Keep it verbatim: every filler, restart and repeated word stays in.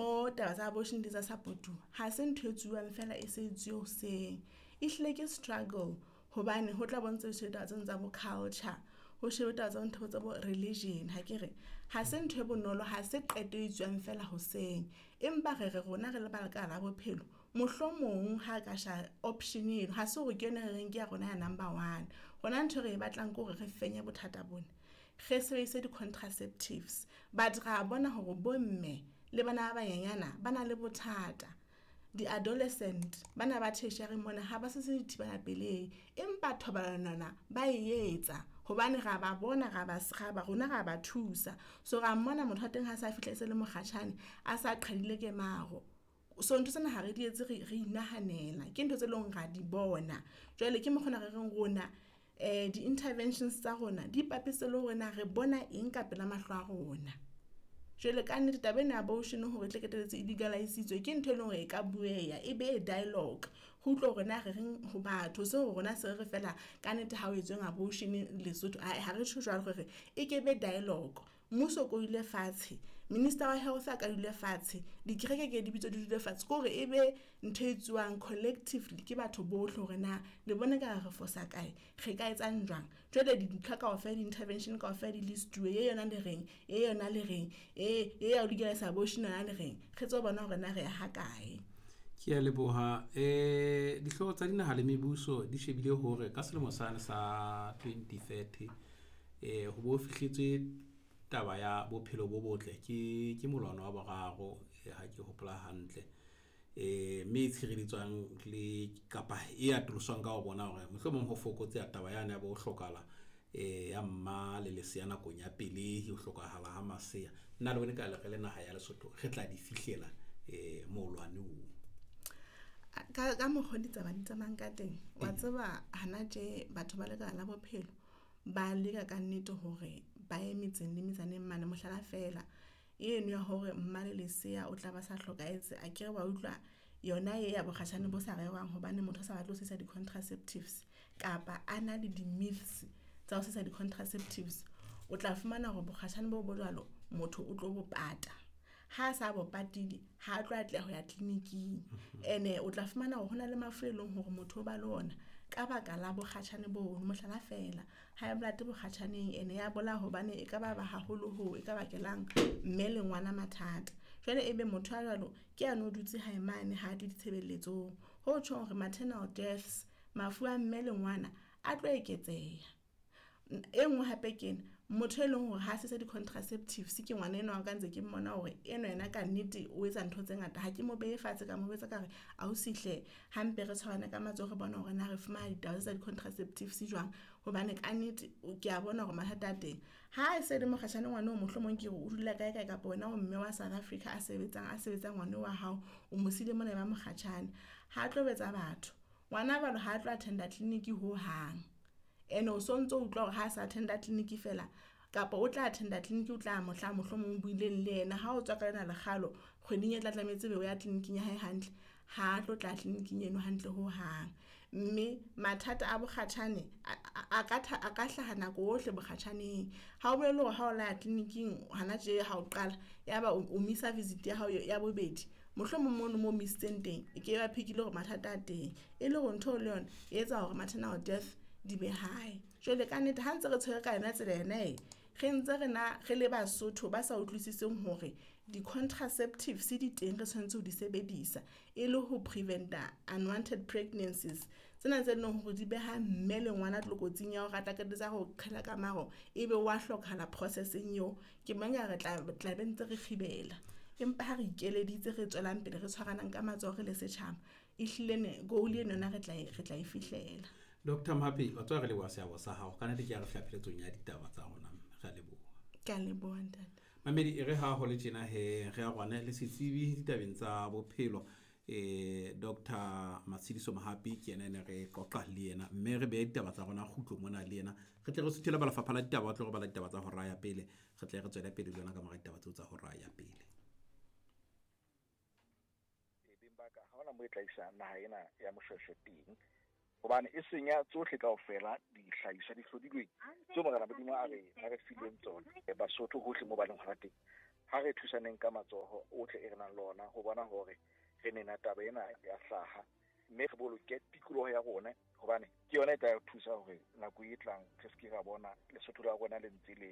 Mo taba tsa abortion di tsa support-uwa. Ha se ntho e tsuwang fela e se etsuwe hoseng. Ehlile ke struggle hobane ho tla bontsha ditaba tseno tsa bo culture, ho shebe taba tsa ntho tsa bo religion hakere. Ha se ntho e bonolo, ha se qeto e etsuwang fela hoseng. Empa re re rona re le ba lekala la bophelo, mohlomong ha ka sha option eno ha se hore ke yona e re reng ke ya rona ya number one. Rona ntho e re e batlang ke hore re fenye bothata bona. Re sebedise di-contraceptives but ra bona hore bomme le bana ba banyenyana ba na le bothata. Di-adolescent bana ba tertiary mona ha ba se se dithibela pelehi, empa thobalano yona ba e etsa hobane ra ba bona ra ba ra rona ra ba thusa. So ra mmona motho wa teng ha sa fihla e se le mokgatjhane a sa qhadile ke maro. So ntho tsena ha re di etse re re inahanela, ke ntho tse leng hore ra di bona. Jwale ke mokgwa ona re reng rona eh di-interventions tsa rona di ipapisitse le hore na re bona eng ka pela mahlo a rona. Jwale ka nnete taba ena ya abortion hore e tle qetelletse e legalize-itswe ke ntho e leng hore e ka bueha e be dialogue. Ho utlwe hore na re reng ho batho se hore rona se re fela ka nnete ha o etsweng abortion Lesotho ae ha re tjho jwalo re re e ke be dialogue. Mmuso o ko dule fatshe, Minister wa Health a ka dule fatshe, dikereke ke di bitswe di dule fatshe. Ke hore e be ntho e etsuwang collectively ke batho bohle hore na le bona ka re fosa kae, re ka etsang jwang. Jwale dintlha kaofela di-intervention kaofela di list-uwe ye yona le reng, e yona le reng, e e ya ho legalize abortion yona le reng. Re tsebe ho bona hore na re ya ha kae. Ke a leboha. Eh dihlooho tsa dinaha le mebuso di shebile hore ka selemo sane sa twenty thirty eh ho bo fihletswe taba ya bophelo bo botle ke ke molwano wa boraro ha ke hopola hantle. Eh mme e tshireletswang le kapa e atoloswang ka ho bona hore mohlomong ho fokotse taba yane ya bo hlokahala eh ya mma le lesea nakong ya pelehi, ho hlokahala ha masea. Nna le bone ka le re le naha ya Lesotho re tla di fihlela eh molwane oo. Ka ka mokgwa di tsamaya di tsamayang ka teng, wa tseba hana tje batho ba lekala la bophelo ba leka ka nnete hore ba ye metseng le metsaneng mane. Mohlala fela eno ya hore mma le lesea o tla ba sa hlokahetse akere wa utlwa yona e ya bokgatjhane bo sa rerwang hobane motho a sa batle ho sebedisa di-contraceptives kapa a na le di-myths tsa ho sebedisa di-contraceptives. O tla fumana hore bokgatjhane bo bo jwalo motho o tlo bo pata. Ha sa bo patile ha tlo atleha ho ya clinic-ing. Ene o tla fumana hore hona le mafu e leng hore motho o ba le ona ka baka la bokgatjhane bono. Mohlala fela high blood bokgatjhaneng ene ya bolaya hobane e ka ba ba haholo ho e ka bakelang mme le ngwana mathata. Jwale ebe motho a jwalo ke yano o dutse hae mane ha tle ditshebeletsong. Ho tjhong hore maternal deaths, mafu a mme le ngwana a tlo eketseha. E nngwe hape ke ena, motho e leng hore ha se di-contraceptives ke ngwana enwa ka ntse ke mmona hore enwa yena ka nnete o etsa ntho tse ngata. Ha ke mo behe fatshe ka mo jwetsa ka re ausi hle hampe re tshwarane ka matsoho re bona hore na re fumana ditaba tsa di-contraceptives jwang, hobane ka nnete ke a bona hore mathata a teng. Ha e se le mokgatjhane ngwana o mohlomong ke re o dula kae kae kapa wena o mme wa South Africa a sebetsang a sebetsang ngwana wa hao o mo siile mona ba mokgatjhane, ha tlo betsa batho. Ngwana jwalo ha tlo attenda clinic ho hang. Ene o sontso o utlwa hore ha sa attenda clinic fela kapa o tla attenda clinic o tla mohla mohlomong o buileng le yena ha o tswa ka lena lekgalo kgweding e tla tlametse be o ya clinic-ing ya hae hantle, ha tlo tla clinic-ing eno hantle ho hang. Mme mathata a bokgatjhane a ka a ka hlaha nako ohle bokgatjhaneng. Ha o bolele hore ha o la clinic-ing hana tje ha o qala ya ba o missa visit ya hao ya bobedi, mohlomong mono mo misitseng teng e ke ba phekile hore mathata a teng e le hore ntho le yona e etsa hore maternal death di be high. Jwale ka nnete ha ntse re tshwere ka yona tsela ena e re ntse re na re le Basotho ba sa utlwisiseng hore di-contraceptives di teng re tshwanetse ho di sebedisa e le ho prevent-a unwanted pregnancies tsena tse leng hore di beha mme le ngwana tlokotsing ya hore a tla qetelletse ho qhela ka maro ebe wa hlokahala process-eng eo. Ke mang ya re tla tla be ntse re kgibela, empa ha re ikeleditse re tswelang pele re tshwaranang ka matsoho re le setjhaba ehlile ne goal eno yona re tla e re tla e fihlela. Doctor Mohapi, wa tswa re leboha seabo sa hao. Ka nnete ke a re fihla pheletsong ya ditaba tsa rona. Re a leboha. Ke a leboha ntate. Mamedi e re ha ho le tjena he re a rwane le setsebi ditabeng tsa bophelo eh Doctor Matshidiso Mohapi ke yena ne re qoqa le yena mme re beha ditaba tsa rona kgutlo mona le yena. Re tle re suthele ba lefapha la ditaba, ba tlo re bala ditaba tsa hora ya pele. Re tle re tswele pele le yona ka mora ditaba tseo tsa hora ya pele. E beng ba ka ha hona mo e tla isa naha ena ya Moshoeshoe teng, hobane e senya tsohle kaofela dihlahiswa di hlodilweng tseo Morena Modimo a re a re fileng tsona. Basotho hohle mo ba leng hona teng, Ha re thusaneng ka matsoho ohle e re nang le ona ho bona hore re nena taba ena ya hlaha, mme re boloke tikoloho ya rona, hobane ke yona e tla re thusa hore nako e tlang re se ke ra bona Lesotho la rona le ntse le